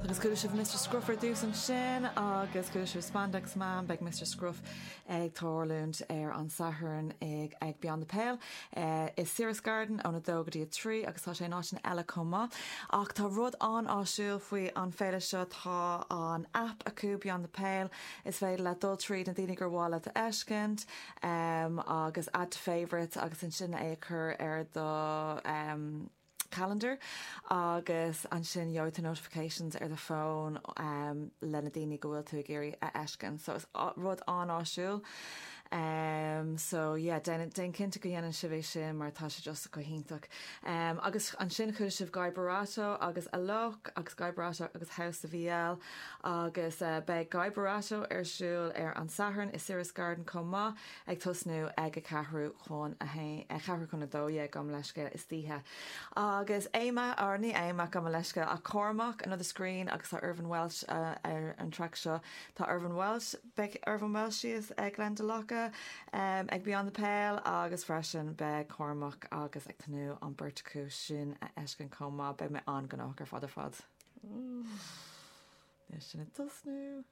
Agus chuala sibh Mr Scruff ar dtús ansin agus chuala sibh Spandex Man, beidh Mr Scruff ag tarlúint ar an Satharn ag ag Beyond the Pale i Ciro's Garden óna 2 go dtí 3 agus tá sé in áiteanna eile chomh maith. Ach tá rud an-áisiúil faoi an féile seo, tá an app acu Beyond the Pale, is féidir leat dul tríd na daoine gur mhaith leat a fheiscint agus add to favourites agus ansin é a chur ar do calendar agus ansin gheobhaidh tú notifications ar do fón le na daoine go bhfuil tú ag iarraidh a fheiscint. So is rud an-áisiúil. Um, so yeah, déan, déan cinnte go dhéanann sibh é sin mar tá sé just go hiontach. Um, agus ansin chuala sibh Guy Barato agus Alok agus Guy Barato agus House of EL agus uh, beidh Guy Barato ar siúl ar an Satharn i Ciro's Garden chomh maith ag tosnú ag a ceathrú chun a haon, ceathrú chun a 12 gabh mo leithscéal istoíche. Agus Éama, or ní Éama, gabh mo leithscéal, ach Cormac, Another Screen agus tá Irvine Welsh ar an traic seo. Tá Irvine Welsh, beidh Irvine Welsh thíos ag Glendalough ag Beyond the Pale agus freisin beidh Cormac agus ag tnúth an beirt acu sin a fheiscint chomh maith. Beidh mé an-ghnóthach ar fad ar fad. Níl sin ag tosnú.